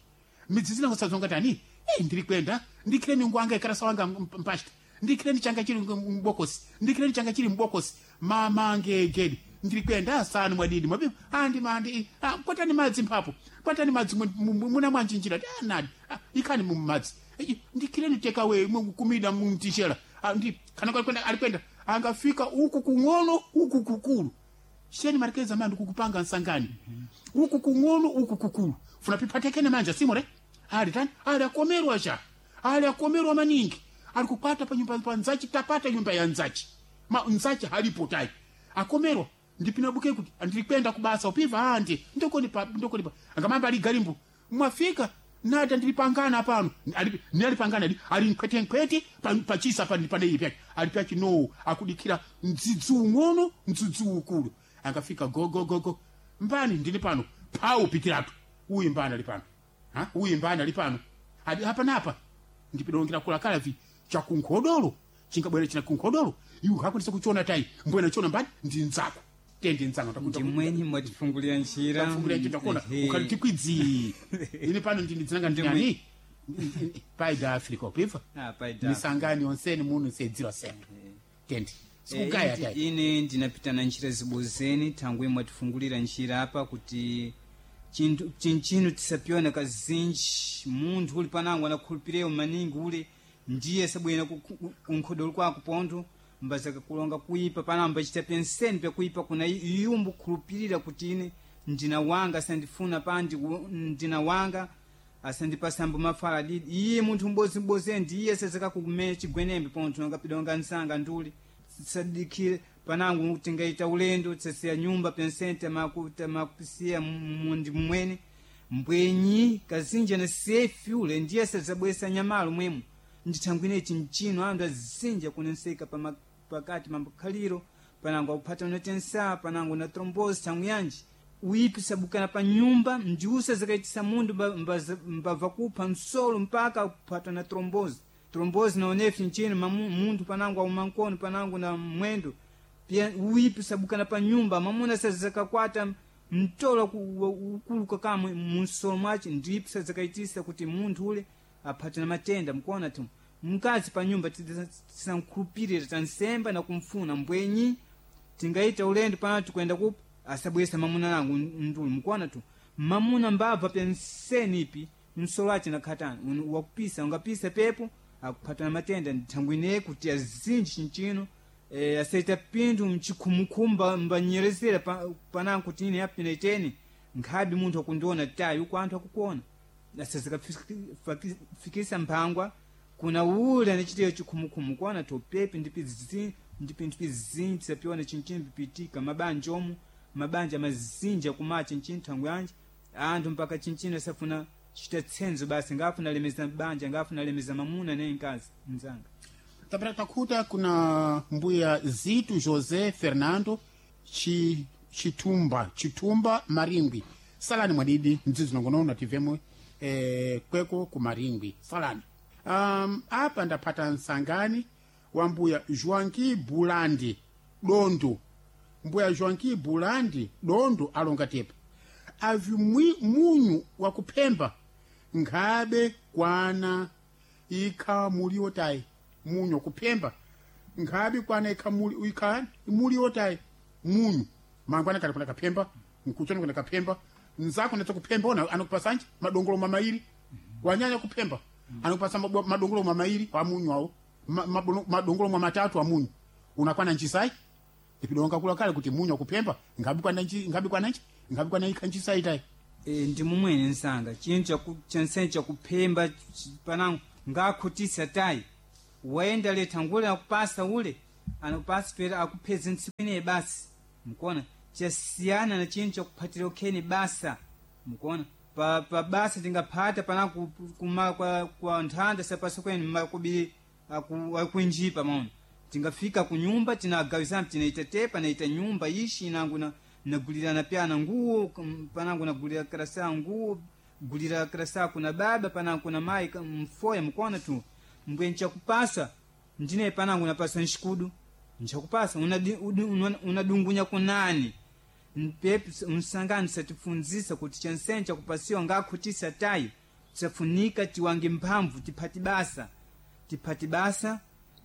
midzi zina kusazonga tani, ndiri kwenda ndikhireni ngwanga ikarasa wanga mpashita ndikhireni changa chili mbokosi ndikhireni changa chili mbokosi mamange gedi ndiri kwenda asanu mwadidi mwabibu andi mandi kwatani madzi mphapo kwatani madzi muna mwanjinjira anadi ikhani mu madzi ndikhireni tekawe kumida mumtishera. Ndi kana kwenda alikwenda angafika uku kung'ono uku kukulu sheni marikeza mandi kukupanga nsangani uku kung'ono uku kukulu funa pipatekene manja simore ali tani ali akomerwa cha ali akomerwa maningi ali kupata pa nyumba pa nzachi tapata nyumba ya nzachi ma nzachi halipo tai akomerwa ndipinabuke kuti ndirikwenda kubasa upiva andi ndokoni pa ndokoni pa angamamba ali galimbu mwafika nata ndilipangana pano ali nalipangana ali ali nkwete nkwete pachisa pa pane ipi ali pachi no akudikira mdzidzi ung'ono mdzidzi ukulu angafika go go go go mbani ndili pano pau pitiratu uyu mbani ali pano ha uyu mbani ali pano ali hapa napa ndipidongera kulakala vi chakunkhodolo chingabwera china kunkhodolo iwe hakwanisa kuchiona tai mbwena chiona mbani ndi nzako tende nzanga. Ndi mwenyi mwatifungulira njira. Tafungulia njira kona Ehe. ukhali tikwidzi ini pano ndini dzinanga ndinani paida Africa upiva. Ah, paida. Misangani yonseni muno sedzira sento tende sikugaya tai. Ine ndinapita na njira zibozeni thangwe mwatifungulira njira apa kuti chinthu chinchino tisapiona kazinji munthu uli panango anakhulupireyo maningi ule ndiye sabwera kunkhodolo kwako pontho mbazakakulonga kuipa panango mbachita penseni pyakuipa kuna iyumbu khulupirira kuti ine ndina wanga asandifuna pandi ndina wanga asandipasambo mafala didi iye munthu mbozimbozeni ndiye sazakakumenya chigwenembe pontho angapidonga nsanga nduli sadikire panangu tingaita ulendo tsasiya nyumba pensente tamakupisiya mundi mmwene mbwenyi kazinja na sefi ule ndiye sazabwesa nyamalo mwemu ndithangwine chinchino anthu azinja kunenseka pakati mambakhaliro panango akuphata unatensa panango na trombosi thangwi yanji uipi sabukana pa nyumba mjiusa zakaitisa mundu mbava kupha msolo mpaka kuphatwa na trombosi trombosi naonefi nchino munthu panango auma nkono panango na mwendo pia uipi sabukana pa nyumba mamuna sazakakwata mtolo ukuluka kamwe munsolo mwace ndipi sazakaitisa kuti munthu ule aphate na matenda mkuona tu mkazi pa nyumba tisankhulupirira tansemba na kumfuna mbwenyi tingaita ulendo pano tikwenda kupa asabwesa mamuna langu ndulu mkuona tu mamuna mbabva penseni ipi msolo ace nakhatani wakupisa ungapisa pepo akuphata na matenda nthangwine kuti azinji chinchino asaita pinthu mchikhumukhumba mbanyerezera panango kuti ine apina iteni nkhabi munthu akundiona tayi uku anthu akukuona asazikafikisa mphangwa kuna ule anachitiyo chikhumukhumu kuona topepe ndi pinthu pizinji tisapiona chinchino pipitika mabanja omu mabanja mazinja kumacha nchini thangwe yanji anthu mpaka chinchino asafuna chita tsenzo basi ngafuna lemeza banja ngafuna lemeza mamuna naye mkazi mzanga. Tapera takhuta kuna mbuya Zitu José Fernando Chitumba Maringwi. Salani mwadidi mdzidzi nongonono tivemwe kweko ku Maringwi. Salani. Apa ndapata nsangani wa mbuya Joaquim Bulandi Dondo. Mbuya Joaquim Bulandi Dondo alonga tepa. Avi munyu wa kuphemba nkhabe kwana ikha muliwo tayi. Munyu kuphemba nkhabe kwana ikha muli ikha muliwo tayi munyu mangwana kali kuna kaphemba nkuchona kuna kaphemba nzako natsa kuphemba ona anokupasanje madongolo mamairi wanyanya kuphemba anokupasa madongolo mamairi wa munyu awo madongolo mamatatu a munyu unakwana nchisai ipidonga kula kale kuti munyu akuphemba nkhabe kwana nchi nkhabe kwana nchi nkhabe kwana ikha nchisai tayi. Ndi mumwene nsanga chinthu chensene chakuphemba panango ngakhutisa tayi wayenda letha ngule akupasa ule anakupasa pera akupheza ntsiku ineyi basi mkuona chasiyana na chinthu chakuphatira ukheni basa mkuona pa basa tingaphata panango kuma kwa nthanda sapasa kweni makubiri akuinjipa maona tingafika kunyumba tinagawizana tinaita tepa naita nyumba ishi inangu nagulirana pyana nguo panangu nagulira karasa nguo gulira karasa kuna baba panangu kuna mai mfoya mkuona tu mbwe nchakupasa ndine panangu napasa nshikudu nchakupasa unadungunya kunani mpepe msangani satifunzisa kuti chansene chakupasiwa ngakhutisa tayi tisafunika tiwange mphamvu tiphati basa tiphati basa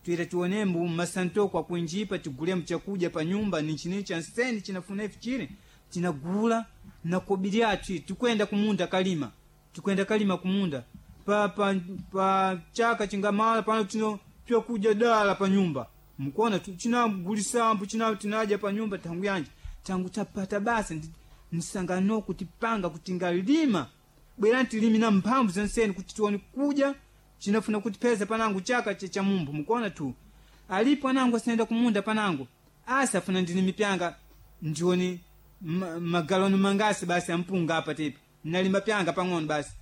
twira tionembo mmasantoko akuinjipa tigulemo chakudya pa nyumba ninchini chansene chinafuna ife chile tinagula na kobiri athu tikwenda kumunda kalima tikwenda kalima kumunda pa chaka chingamala pano tino pyakudya dala pa nyumba mkuona chinagulisambo china tinaja pa nyumba tangu yanje tangu tapata basa msangano kutipanga kutingalima bwerani tilimi na mphamvu zonseni kuti tione kudya chinafuna kutipeza panangu chaka cha mumbu mkuona tu alipo anangu asinaenda kumunda panangu asa afuna ndilimi pyanga ndioni magaloni mangasi basi ampunga apa tepi nalima pyanga pang'ono basi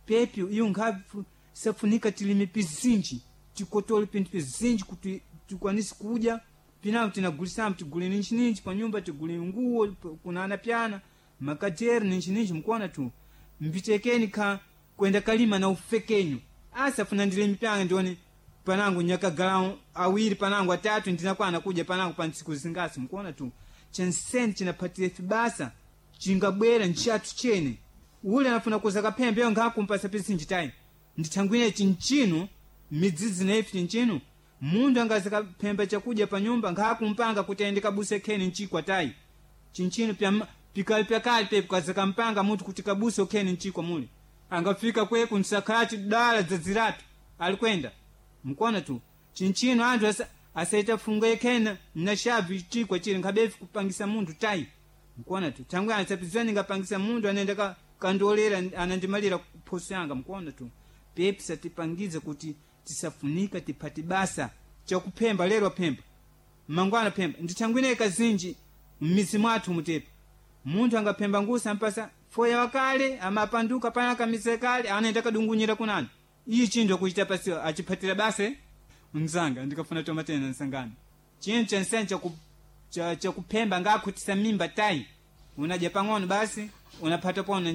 pepi iyo nkhavu safunika tilime pizinji tikotole pinthu pizinji kuti tikwanise kudya pinango tinagulisamo tigule ninchininchi pa nyumba tigule nguwo kunana pyana makaderi ninchininchi mkuona tu mbitekeni kha kwenda kalima na ufekenyu asa funa ndilimi pyanga ndione panangu nyakagala awiri panangu atatu ndinakwana kudya panangu pa ntsiku zingasi mkuona tu chenseni chinaphatire fibasa chingabwera nchathu chene ule anafuna kuza kaphembe yo ngakumpasa pizinji tayi ndithangwine chinchinu midzidzi na ife chinchinu munthu angaza kaphemba chakudya pa nyumba ngakumpanga kuti ayende kabuse kheni nchikwa tayi chinchinu pikali pyakali pepi kaza kampanga munthu kuti kabuse ukheni nchikwa muli angafika kweku nsakhachi dala dzadziratu alikwenda mkuona tu chinchinu anthu asaita funga yekhena na shavi chikwa chili nkhabefi kupangisa munthu tayi mkuona tu thangwi anasapizani ngapangisa munthu anaenda kandolera anandimalira phoso yanga mkuona tu pepi satipangize kuti tisafunika tiphati basa chakuphemba lero aphemba mangwana phemba ndithangwine kazinji m'mizi mwathu mutepa munthu angaphemba ngusa ampasa foya wakale amapanduka pana kamise kale anaenda kadungunyira kunani iyi chinthu akuchita pasi achiphatira basa mzanga ndikafuna tomatena nsangani chinthu chansene chakuphemba ngakhutisa mimba tayi unadya pang'ono basi unaphata pona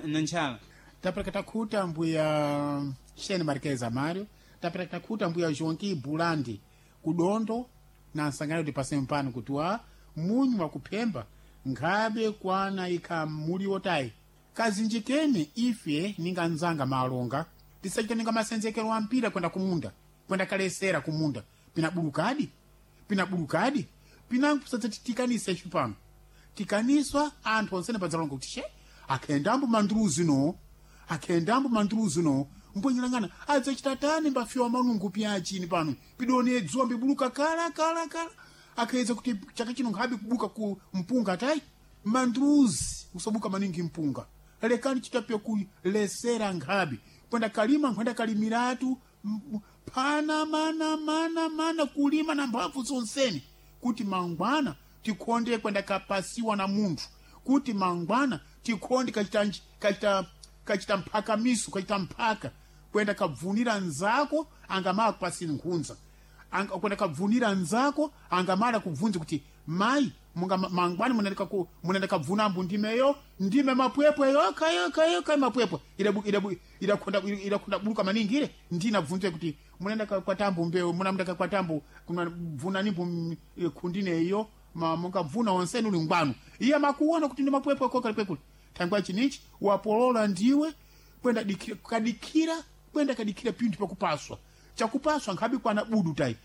na ntchala. Tapeleka takhuta mbuya Shene Marquez Amário, tapeleka takhuta mbuya Joaquim Bulandi kudondo na nsangano kuti pase mpano kuti wa munyu wakuphemba nkhabe kwana ikha muliwo tayi kazinjikeni ife ninga nzanga malonga tisachita ninga masenzekero ampira kwenda kumunda kwenda kalesera kumunda pinabulukadi pinabulukadi pinankusadzati ife pano tikaniswa anthu onsene padzalonga kuti she akhendambo mandruzi no akhendambo mandruzi no mbwenyerangana adzachita tani mbafiwa malungu pyachini pano pidone dzuwa mbibuluka kala kala kala akhaedza kuti chaka chino nkhabe kubuka ku mpunga tayi mandruzi usabuka maningi mpunga lekani chitapya kulesera nkhabe kwenda kalima nkhwenda kalimiratu pana mana mana mana kulima na mphamvu zonsene kuti mangwana tikhonde kwenda kapasiwa na munthu kuti mangwana tikhonde kachita mphakamiso kachita mphaka Kwenda kabvunira nzako angamala kupasini nkhunza. Kwenda kabvunira nzako angamala kubvunza kuti mai munga mangwani munendeka ku munendeka bvuna mbu ndimeyo ndime mapwepwe yoka yoka yoka mapwepwe ida ida ida buluka maningi ile ndina bvunze kuti munenda kwa tambu mbeo munamndeka kwa tambu kuna bvuna nimbu kundine iyo munga bvuna onseni uli ngwanu iye makuona kuti ndi mapwepwe koka pekule tangwa chinichi wapolola ndiwe kwenda dikira kadikira kwenda kadikira pintu pakupaswa chakupaswa nkhabi kwana budu tai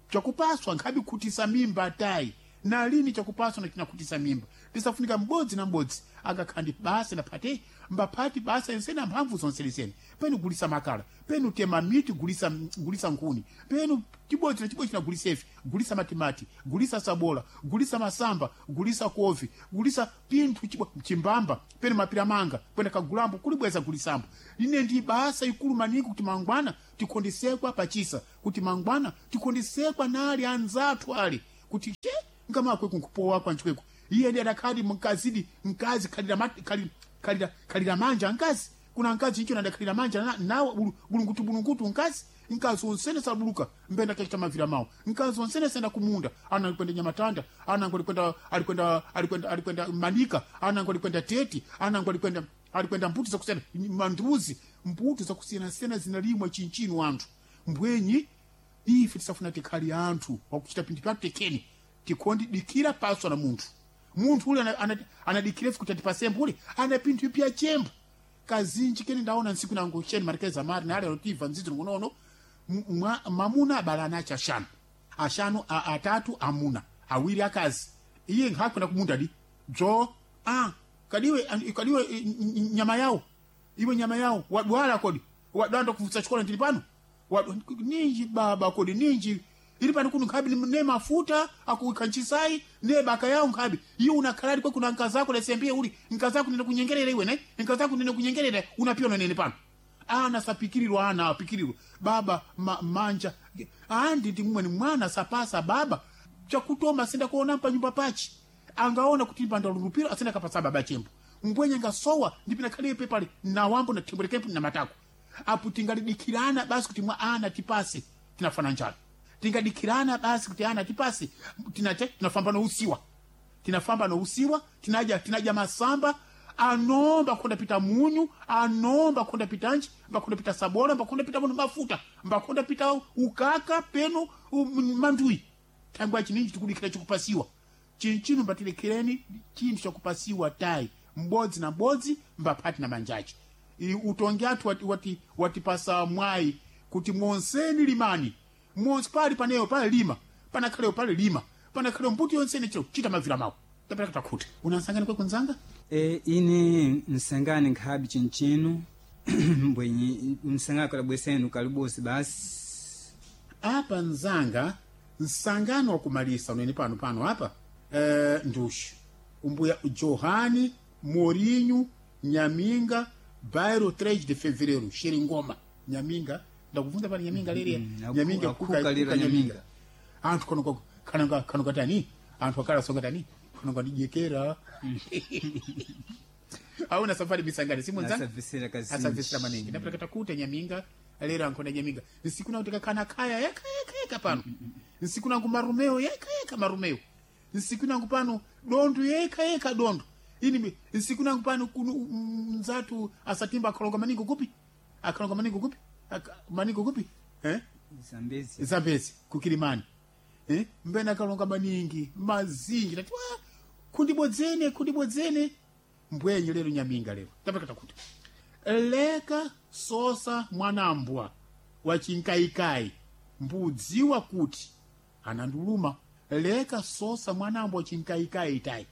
chakupaswa nkhabi kutisa mimba tai na lini chakupaswa na chinakutisa mimba tisafunika m'bodzi na m'bodzi akakhandi basa naphate mbaphati basa ensene amphamvu zonse lisene penu gulisa makala penu tema miti gulisa gulisa nkhuni penu chibodzi na chibodzi na ife gulisa matimati gulisa sabola gulisa masamba gulisa kovi gulisa pinthu chimbamba penu mapira manga penu kagulambo kulibweza gulisambo ine ndi basa ikulu maningi kuti mangwana tikhondisekwa pachisa kuti mangwana tikhondisekwa nali anzathu ali kuti che ngamakwe kunkupowa kwanjikweko iye ndi adakhali mkazidi mkazi khalira khalira khalira manja mkazi kuna mkazi icho nadakhalira manja nawo bulungutu bulungutu mkazi mkazi onsene sabuluka mbenda kachita mavira mawo mkazi onsene senda kumunda ana alikwenda nyamatanda ana alikwenda alikwenda alikwenda alikwenda manika ana alikwenda teti ana alikwenda alikwenda mbuti zakusiyana manduzi mbuti zakusiyana-siyana zinalimwa chinchinu anthu mbwenyi ife tisafuna tikhali anthu wakuchita pinthu pyathu tekeni tikondi dikira paswa na munthu munthu ule anadikira ife kuti atipase ule ana pinthu ipya chembo kazinji kene ndaona ntsiku nangu cheni marekeza mari nale alotiva nzidzo ngonono mamuna abala anachi ashanu ashanu atatu amuna awiri akazi iye nkhakwenda kumunda di dzo a kadiwe kadiwe nyama yawo iwe nyama yawo wadwala kodi wadwala ndokuvutsa chikola ndili pano ninji baba kodi ninji ili pano kuno nkhabi ne mafuta akukanchisai ne baka yawo nkhabi iwe unakhalali kwe kuna nkazako lesembie uli nkazako nene kunyengerera iwe ne nkazako nene kunyengerera unapiona nene pano ana sapikirirwa ana apikirirwa baba manja andi ndi mumwe ni mwana sapasa baba chakutoma senda kuona pa nyumba pachi angaona kuti pandalulupira asenda kapasa baba chembo mbwenye ngasowa ndipina khaliye pepale na wambo na thembwerekepo na matako apo tingalidikirana basi kuti mwa ana tipase tinafana njala tingadikirana basi kuti ana tipase tinate tinafamba nousiwa tinafamba nousiwa tinaja tinaja masamba anomba khonda pita munyu anomba khonda pita nji mbakhonda pita sabola mbakhonda pita muno mafuta mbakhonda pita ukaka peno mandui thangwa chininji tikudikira chikupasiwa chinchino mbatilekhereni chinthu chakupasiwa tayi m'bodzi na m'bodzi mbaphati na manjachi utongi athu watipasa mwayi kuti monseni limani monse pali paneyo pali lima panakhaleyo pali lima panakhaleyo mbuti yonsene chiro chita mavira mawo tapera takhuta unansangani kwe kunzanga ine nsangani nkhabi chinchino mbwenyi msangani kalabwesenu kalibosi basi apa nzanga nsangano wakumalisa unene pano pano apa nduxi umbuya Johani Morinho Nyaminga bairro 3 de fevereiro Xeringoma Nyaminga ndakubvunza pano Nyaminga leriya Nyaminga akuka lera Nyaminga. anthu kano kano kano katani anthu akala songa tani kano kandijekera auna safari misangani simu nzanga Asabvisira kazinji. asabvisira maningi ndapita katakuta Nyaminga lero ankhona Nyaminga nsiku nakuti kakhana khaya yeka yeka yeka pano nsiku nangu marumeo yeka yeka marumeo nsiku nangu pano dondu yeka yeka dondu ini nsiku nangu pano kuno mzatu asatimba akhalonga maningi kupi akhalonga maningi kupi maningi kupi eh Zambezi. Zambezi kukilimani eh mbena akalonga maningi mazinji tati wa kundibodzene kundibodzene mbwenye lero Nyaminga lero tapata kuti leka sosa mwanambwa wa chinkaikai mbudziwa kuti ananduluma leka sosa mwanambwa wa chinkaikai tai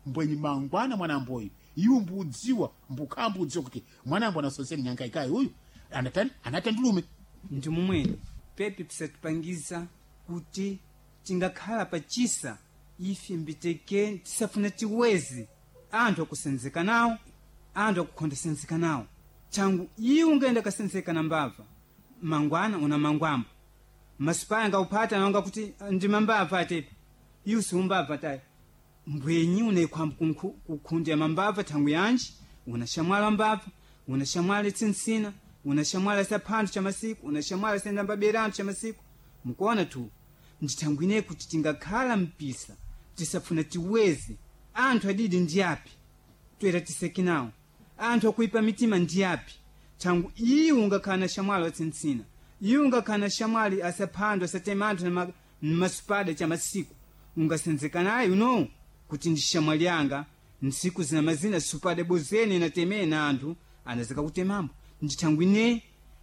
mbwenyi mangwana mwanamboyu iwu mbudziwa mbukhambudziwa kuti mwanambwa anasoseni nyankaikai uyu anatani anatandulume ndi mumwene pepe pisatipangiza kuti tingakhala pachisa ife mbiteke tisafuna tiwezi anthu akusenzeka nawo anthu akukhondesenzeka nawo changu iwe ungayenda kasenzeka na mbava mangwana una mangwambo masipaya ngauphata naonga kuti ndi mambava atepi iwe siumbava tayi mbwenyi unaikhwamba kukhundya mambava thangu yanji una shamwala mbava una shamwala tsinsina Una shamwali asaphanthu cha masiku, una shamwali asendambabera anthu cha masiku. Mukuona tu ndithangwine kuti tingakhala mpisa tisafuna tiweze anthu adidi ndi api toera tiseke nawo anthu akuipa mitima ndi api. Thangu iwe ungakhala na shamwali watsintsina, iwe ungakhala na shamwali asaphandwa asatema anthu masupada cha masiku, ungasenzeka naye uno kuti ndi shamwali yanga. Ntsiku zina mazina supada bozene inatemena anthu anazika kutemambo. Ndithangwine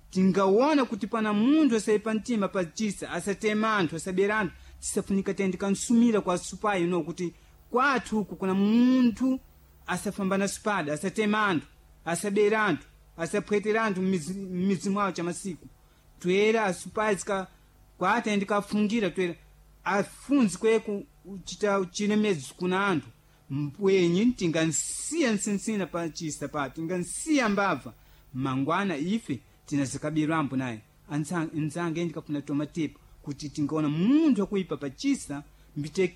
tingaona kuti pana munthu asaipa mtima pachisa asatema anthu asabera anthu, tisafunika tiyandikansumira kwa supayi uno kuti kwathu uku kuna munthu asafambana supada asatema anthu asabera anthu asaphwetera anthu m'midzi mwawo cha masiku. Toera asupayi zika kwatayandikafungira toera afunzi kweku chita chilemedzo kuna anthu mbwenyi tingansiya nsinsina pachisa pa tingansiya mbabva mangwana ife tinazikabirambo naye. Anzange ndikafuna tomatepo kuti tingaona munthu akuipa pachisa mbiteke.